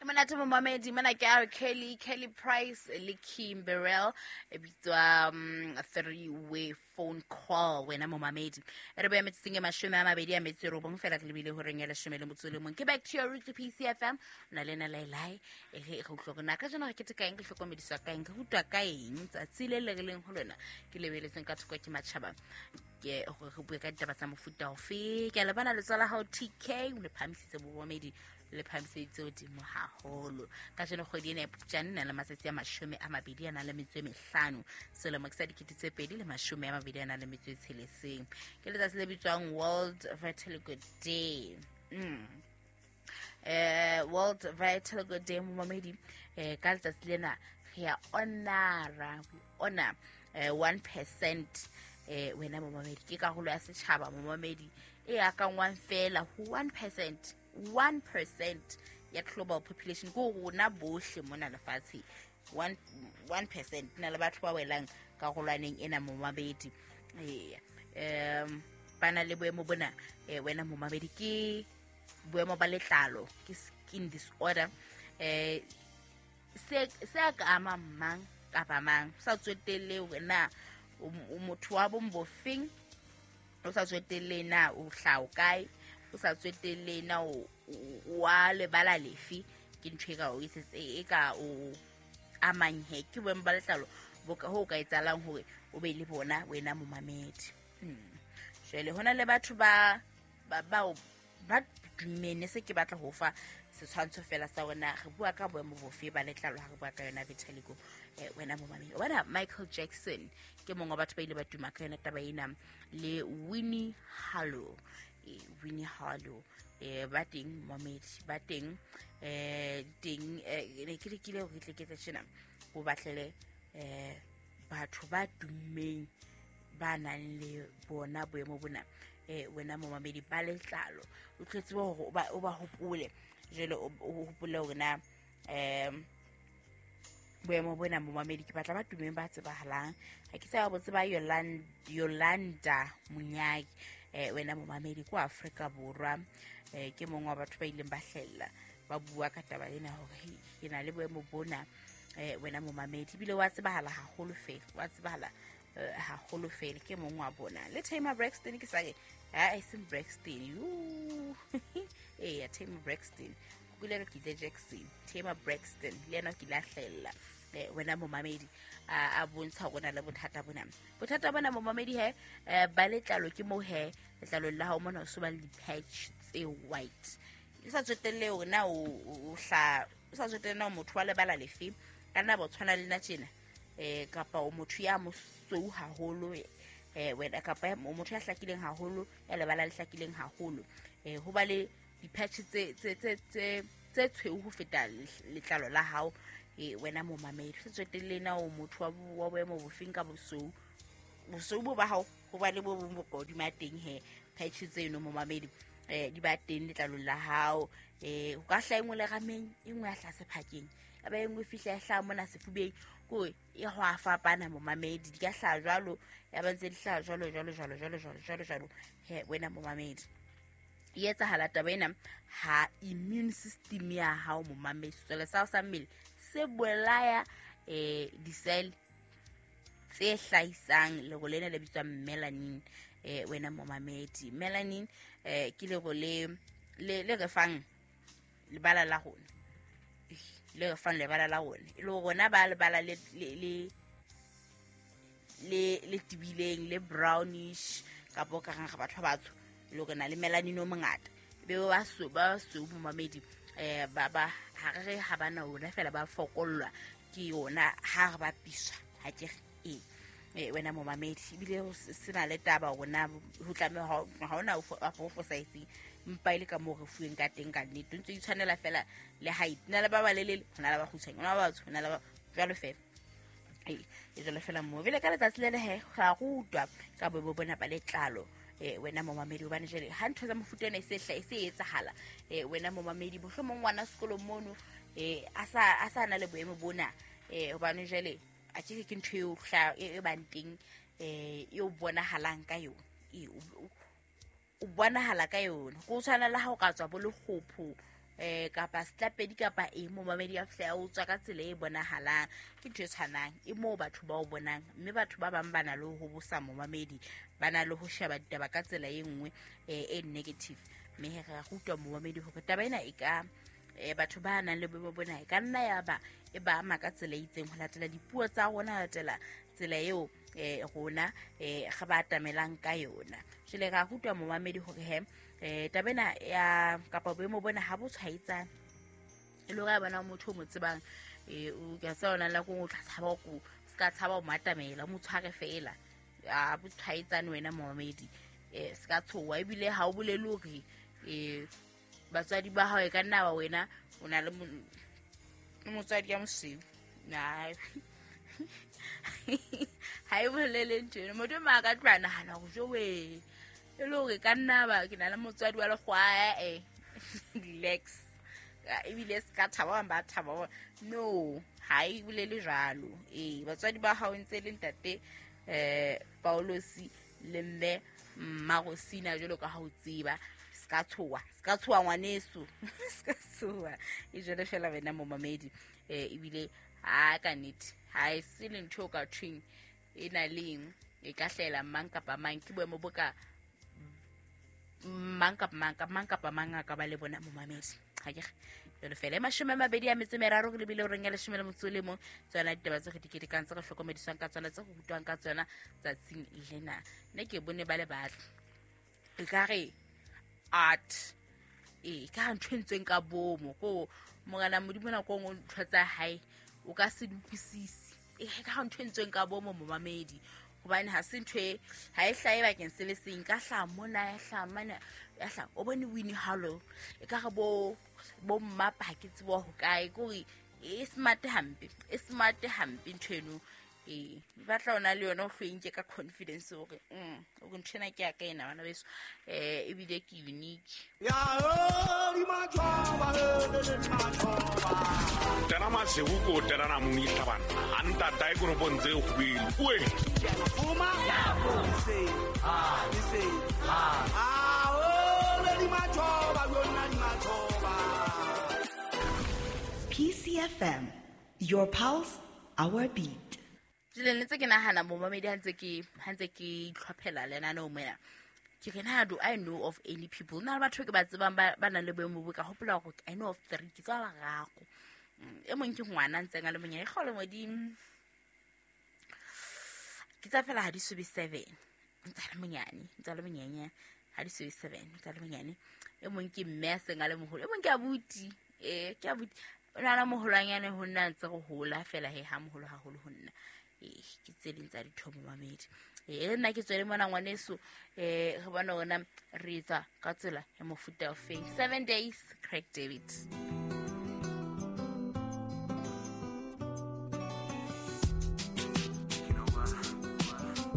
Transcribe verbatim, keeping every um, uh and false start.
Monate momamedi mona ke R Kelly, Kelly Price le Kim Burrell, e bitswa um, three way phone call. Wena momamedi e re boya metsotsong e mashome a mabedi a metso e robong fela re lebile horeng ya leshome le motso o le mong. Ke back to your roots P C F M, o na le ena Lailai. E re re utlwa hore na kajeno re keteka eng, re hlokomediswa ka eng, re rutwa ka eng tsatsi le le re leng ho lona ke lebeletseng ka thoko ke matjhaba, ke hore re bue ka ditaba tsa mofuta ofe. Ke a lebana letsoho la hao T K, o le phahamisitse bomamedi, le phahamiseditse hodimo haholo. Kajeno kgwedi ena ya Phupjane e na le matsatsi a mashome a mabedi a nang le metso e mehlano, selemo ke sa dikete tse pedi le mashome a mabedi a nang le metso e tsheletseng. Ke letsatsi le bitswang World Vitiligo Day. Mm. Eh, World Vitiligo Day momamedi, eh, ka letsatsi lena re ya honora, we honor, eh, one percent, eh, wena momamedi, ke karolo ya setjhaba momamedi e akangwang fela ho one percent, one percent ya global population, ko rona bohle mona lefatsheng, one, one percent na le batho ba welang karolwaneng ena momamedi. Eya, um, ba na le boemo bona, eh, wena momamedi, ke boemo ba letlalo, ke skin disorder, eh, se, se ka ama mang kapa mang, o sa tswetelle hore na o, o motho wa bong bofeng, o sa tswetelle na o hlaha o kae, o sa tswetelle na o, o, o wa lebala lefe, ke ntho e ka o etsetse, e ka o amang he, ke boemo ba letlalo bo ka, ho ka etsahalang hore o be le bona wena momamedi. Hmm. Jwale hona le batho ba, ba, bao ba dumene, se ke batla ho fa setshwantsho fela sa hore na re bua ka boemo bofe ba letlalo ha re bua ka yona vitiligo, eh, wena momamedi. O bona Michael Jackson ke mongwe wa batho ba ile ba tuma ka yona taba ena, le Winnie Harlow. Eh, Winnie Harlow, eh, ba teng momamedi, ba teng, eh, teng, eh, ne ke lekile hore ke tle ke etse tjena, o batlele, eh, batho ba tummeng ba nang le bona boemo bona, eh, wena momamedi, ba letlalo, o tlo tseba hore o ba, o ba hopole. Jwale o, o hopole hore na, em, boemo bona momamedi, ke batla ba tummeng ba tsebahalang. Ha ke sa ba tseba Yolan-, Yolanda Munyaki, eh, wena momamedi, kwa Afrika Borwa, eh, ke mongwe wa batho ba ileng ba hlella ba bua ka taba ena hore, hei, ke na le boemo bona, eh, wena momamedi, ebile wa tsebahala haholo fela, wa tsebahala, eh, haholo fela, ke mongwe wa bona. Le Tamar Braxton, ke sa re, ha, e seng Braxton, yoo. Eya, Tamar Braxton, ke ile ka ke itse Jackson, Tamar Braxton, le yena o kile a hlahella, eh, wena momamedi, a, a bontsha hore o na le bothata bona. Bothata bona momamedi he, eh, ba letlalo ke moo he, letlalo la hao mona o so ba le di-patch tse white. E sa tswetelle hore na o, o, o hla, o sa tswetelle na o motho wa lebala lefe, ka nna ba o tshwana le nna tjena, eh, kapa o motho ya mosweu haholo, eh, wena, kapa ya, o motho ya hlakileng haholo, ya lebala le hlakileng haholo, eh, ho ba le di-patch tse, tse, tse, tse, tse tshweu ho feta letlalo la hao, eh, wena momamedi. Se tswetelle na o motho wa bo-, wa boemo bofeng ka bosweu, bosweu bo ba hao, ho ba le bo bong bo ka hodima teng he, patch tseno momamedi, eh, di ba teng letlalong la hao, eh, ho ka hlaha e nngwe lerameng, e nngwe ya hlaha sephakeng, ya ba e nngwe e fihla ya hlaha mona sefubeng, ke hore e ho a fapana momamedi, di ka hlaha jwalo, ya ba ntse di hlaha jwalo, jwalo, jwalo, jwalo, jwalo, jwalo, jwalo, he, wena momamedi. E etsahala taba ena ha immune system ya hao momamedi, sesole sa hao sa mmele se bolaya, eh, di-cell tse hlahisang lero lena le bitswang melanin, eh, wena momamedi. Melanin, eh, ke lero le, le, le re fang lebala la rona, le re fang lebala la rona, e le rona ba lebala le, le, le, le, le tibileng, le brownish, kapa o ka reng re batho ba batsho, le hore na le melanin o mongata, be ba so, ba so momamedi, eh, ba, ba, ha re re ha ba na ona fela ba fokollwa ke yona ha re bapiswa, ha ke re, ee, eh, wena momamedi, ebile ho se, se na le taba hore na ho tlameha ha, ha hona ho fo-, ho fosahetseng, empa e le ka moo re fuweng ka teng ka nnete, o ntse o itshwanela fela le height, ho na le ba balelele, ho na le ba kgutshwane, ho na le ba batsho, ho na le ba jwalo fela. Ee, e jwalo fela moo. Jwale ka letsatsi le le he, ra rutwa ka boemo bona ba letlalo, eh, wena momamedi, hobane jwale ha ntho tsa mofuta ona e se hla-, e se etsahala, eh, wena momamedi, mohlomong ngwana sekolo mono, eh, a sa, a sa na le boemo bona, eh, hobane jwale a ke ke ntho eo hla-, e, e bang teng, eh, eo bonahalang ka yona, e, o, o, o bonahala ka yona. Ho tshwana le ha o ka tswa bo lekgopho, eh kapa setlapedi kapa eng momamedi a fihla o tswa ka tsela e bonahalang ke ntho e tshwanang e moo batho ba o bonang mme batho ba bang ba na le ho bosa momamedi ba na le ho sheba ditaba ka tsela e nngwe e negative mme he re rutwa momamedi hore taba ena e ka eh batho ba nang le boemo bona e ka nna ya ba e ba ama ka tsela e itseng ho latela dipuo tsa rona latela tsela eo eh rona eh re ba atamelang ka yona jwale ra rutwa momamedi hore he eh taba ena ya kapa boemo bona ha bo tshwaetsane e le hore a bona motho o mo tsebang eh o ka sa ona la go tla tshaba go ska tshaba o matamela mo tshware fela a bo tshwaetsane wena momamedi eh ska tshowa ebile ha o bolele hore eh batswadi ba hao e ka nna ba wena o na le motswadi ya mosweu na ha e bolele ntho eno motho ma ka tloha nahana hore jowe e le hore ka nna ba ke na le motswadi wa lekgwa eh relax ebile se ka thaba ba thaba no ha e bolele jwalo eh batswadi ba hao ntse le ntate eh Paulosi le mme Mmarosina jwalo ka ha o tseba ska tshowa ska tshowa ngwaneso ska tshowa e jwale fela wena momamedi eh ebile ha ka nnete ha e se le ntho ka thweng e na leng e ka hlela mang kapa mang ke boemo bo ka mang kapa mang kapa mang kapa mang a ka ba le bona momamedi ha ke jwale fela e mashome a mabedi a metso e meraro re lebile horeng ya leshome le motso o le mong tsona ditaba tse re di ketekang tse re hlokomediswang ka tsona tse re rutwang ka tsona tsatsing lena nna ke bone ba le batle e ka re art e ka ntho e ntsweng ka bomo ko morena modimo nako nngwe ntho tsa hae o ka se di utlwisise e ka ntho e ntsweng ka bomo momamedi hobane ha se ntho e ha e hlahe bakeng se le seng ka hlaha mona ya hlaha mane ya hlaha o bone Winnie Harlow e ka re bo bo mmapa ha ke tsebo ho kae kore e smart hampe e smart hampe ntho eno e batla ona le yona o hlwenke ka confidence hore mm o ntho ena ke ya ka ena bana beso eh ebile ke unique ya di matjhoba le matjhoba tena masego ko tena na mong itlhabana a ntata e koropong tse kgwele oe fuma se ha se ha a o le di matjhoba yona di matjhoba P C F M, your pulse, our beat. Jwale ne tse ke nahana momamedi ha ntse ke ha ntse ke itlhophela lenaneo mona ke re na do I know of any people na batho ke ba tsebang ba ba nang le boemo bo ka hopola hore I know of three ke tswa bararo e mong ke ngwana ntseng a le monyane kgolo modimo ke tsa fela ha di sobe seven ntse le monyane ntse le monyane ha di sobe seven ntse le monyane e mong ke mme a seng a le moholo e mong ke abuti eh ke abuti o na le moholwanyane ho nna ntse go hola fela he ha moholo haholo ho nna eh ke tse ding tsa ditho momamedi eh nna ke tswele mona ngwaneso eh re bona rona re etsa ka tsela ya mofuta o feng seven days Craig David.